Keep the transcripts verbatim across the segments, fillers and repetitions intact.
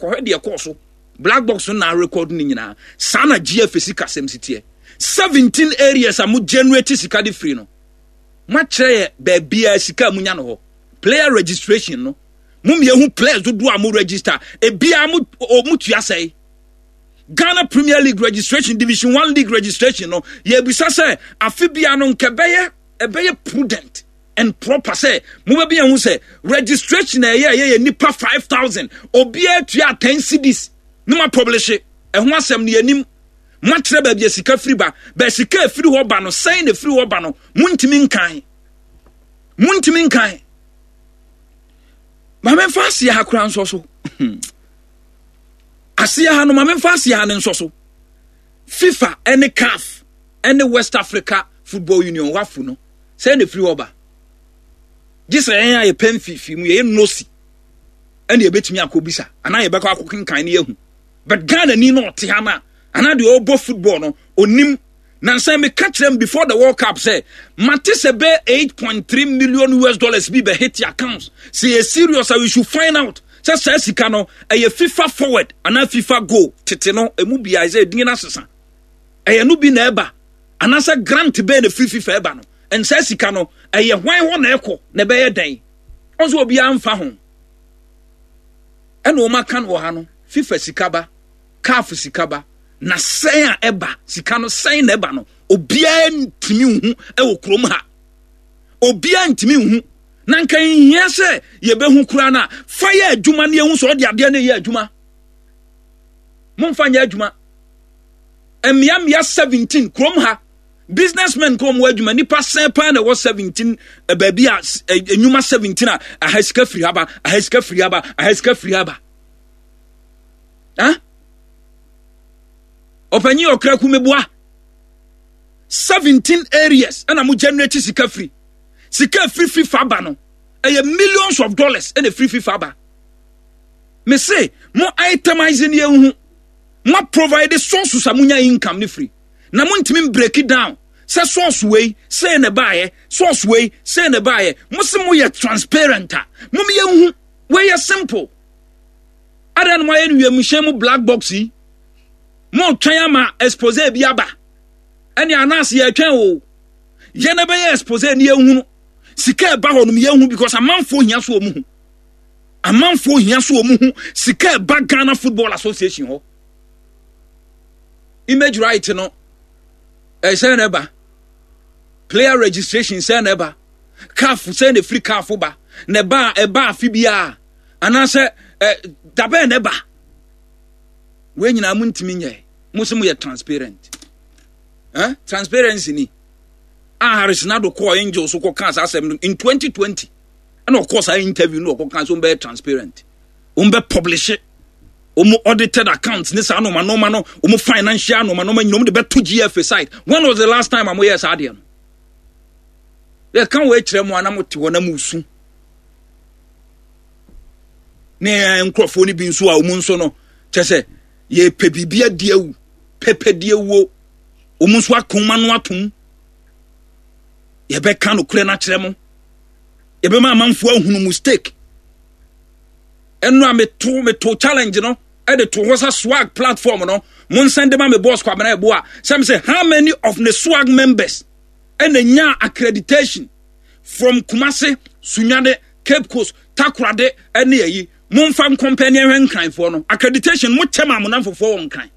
Kɔhwɛ deɛ kɔɔ so. Black box no na record ne nyinaa. Saa na G F A sika sɛm si teɛ. seventeen areas a mo generate sika de firi no, moakyerɛ yɛ baabia sika a munya no hɔ. Player registration no, mo mmiɛhu players dodoɔ a mo register, ebia mo mo tua sɛe. Ghana Premier League registration, Division One league registration no, yɛbisa sɛ afe bia no nkɛ bɛyɛ ɛbɛyɛ prudent and proper sɛ mobɛbi yɛn ho sɛ registration a ɛyɛ ɛyɛ yɛ nipa five thousand, obiara tua ten cedis ne ma publish ɛho asɛm no. Yɛnim moakyerɛ baabi a sika firi ba. Bɛɛ sika efiri hɔ ba no, sɛn na efiri hɔ ba no? Montumi nkan, montumi nkan. Maame, nfa aseɛ ha koraa nsɔ so. Aseɛ ha no, maame, nfa aseɛ ha no nsɔ so. FIFA ɛne CAF ɛne West Africa Football Union, WAFU no, sɛn na efiri hɔ ba? Gye sɛ yɛn a yɛpɛ mfifi mu, yɛyɛ nosi ɛna yɛbɛtumi akɔ bisa anaa yɛbɛkɔ akɔ kenkan ne yɛhu. But Ghana ni no ɔte ha no anaa deɛ ɔrebɔ football no onim. Nansan meka kyerɛ m before the World Cup sɛ mate sɛ bɛ eight point three million U S dollars bi bɛ hit accounts. Sɛ yɛ serious a, we should find out sɛ saa sika no ɛyɛ FIFA Forward anaa FIFA Goal tete no emu bia sɛ edin no asesa, ɛyɛ no bi na ɛba, anaasɛ grant bɛɛ na firi FIFA ɛba no. Nsaa sika no ɛyɛ hwan hɔ na ɛkɔ na ɛbɛyɛ dɛn? Ɔnso obiara mfa ho. Ɛna wɔn aka no wɔ ha no, FIFA sika ba, CAF sika ba, na sɛn a ɛba sika no, sɛn na ɛba no, obiara ntumi nhu ɛwɔ kurom ha. Obiara ntumi nhu. Na nka nhia sɛ yɛbɛhu koraa no a, fa yɛ adwuma ne yɛhu sɛ ɔde adeɛ no yɛ adwuma. Momfa nyɛ adwuma. Mmeammea seventeen kurom ha, businessmen kɔ wɔn adwuma, nipa sɛn paa na ɛwɔ seventeen baabi a enyuma seventeen a aha sika firi ha ba, aha sika firi ha ba, aha sika firi ha ba? Ah, ɔpanyin ɔkra kumeboa, seventeen areas ɛna mo generate sika firi. Sika firi FIFA ba no, ɛyɛ millions of dollars ɛna firi FIFA ba. Me se mo itemize ne yɛn hu. Mo provide sources a mo nya income ne firi, na mo ntumi break it down sɛ source wei sei na ɛbaayɛ, source wei sei na ɛbaayɛ. Mo se mo yɛ transparent a, mo yɛn hu. Wei yɛ simple. Adan no mo ayɛ no wiemhyɛn mu black box yi, mo twɛn ama expose bi aba. Ɛne anaase yɛtwɛn o, yɛn na bɛyɛ expose ne yɛn hu sika ɛba hɔ nom, yɛn hu, because amanfoɔ hia so wɔn hu, amanfoɔ hia so wɔn hu sika ɛba Ghana Football Association hɔ. Image right no, ɛsɛn na ɛba? Player registration, sɛn na ɛba? CAF, sɛn na efiri CAF ba? Na ɛba ɛba afi biara anaasɛ ɛ dabɛn na ɛba? Wei nyinaa mo ntumi nyɛ. Mo sɛ mo yɛ transparent. eh? Transparency ni a Harris Nado kɔɔ Angel so kɔ kaa saa asɛm no in twenty twenty, ɛna ɔkɔɔ saa interview no, ɔkɔ kaa so wɔn bɛyɛ transparent, wɔn bɛ publish wɔn audited accounts ne saa nneɛma nneɛma no, wɔn financial nneɛma nneɛma nyinaa, wɔn de bɛto G F A site. When was the last time a mo yɛ saa adeɛ no? Yɛka wɔ akyerɛ mu a, na mo te hɔ na mo su ne nkurɔfoɔ no bi nso a wɔn nso no kyɛ sɛ yɛpɛ biribi adi awu, pɛpɛ di awuo. Wɔn nso akoma no atom. Yɛbɛka nokorɛ no akyerɛ mo, yɛbɛma amanfoɔ ahunu mistake. Ɛno a meto meto challenge no ɛde to hɔ sɛ swag platform no, mo nsɛn de ma me boss Kwabena Ɛbo a sɛm sɛ how many of the swag members ɛna nya accreditation from Kumase, Sunyani, Cape Coast, Takoradi ɛne ayi. Momfa nkɔmpɛ ne ɛhwɛ Nkranfoɔ no accreditation. Mo kyɛ ma mo namfofoɔ wɔ Nkran,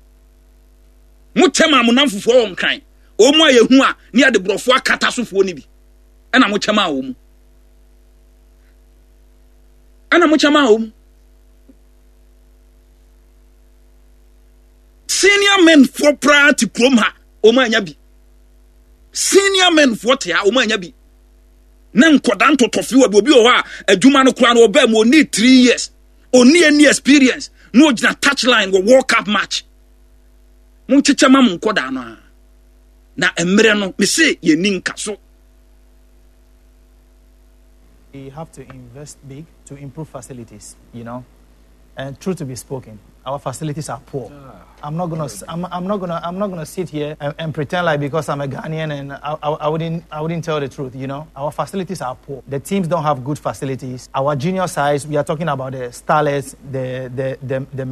mo kyɛ ma mo namfofoɔ wɔ Nkran, wɔn mu a yɛhu a ne yɛde borɔfoɔ akata sofoɔ no bi, ɛna mo kyɛ ma wɔn mu, ɛna mo kyɛ ma wɔn mu. Senior men foɔ koraa te kurom ha, wɔn anya bi. Senior men foɔ te ha, wɔn anya bi. Na nkɔda ntɔtɔfi wɔ bi. Obi wɔ hɔ a adwuma no koraa no ɔbɛn mu oni three years, oni any experience, na ogyina touch line wɔ World Cup match. Mo nkyekyɛ ma mo nkɔda no a, na mmerɛ no mese yɛni nka so. We have to invest big to improve facilities, you know. And truth to be spoken, our facilities are poor. I'm not gonna, I'm, I'm not gonna, I'm not gonna sit here and, and pretend like because I'm a Ghanaian and I, I, I wouldn't, I wouldn't tell the truth. You know, our facilities are poor. The teams don't have good facilities. Our junior sides, we are talking about the starlets, the the the, the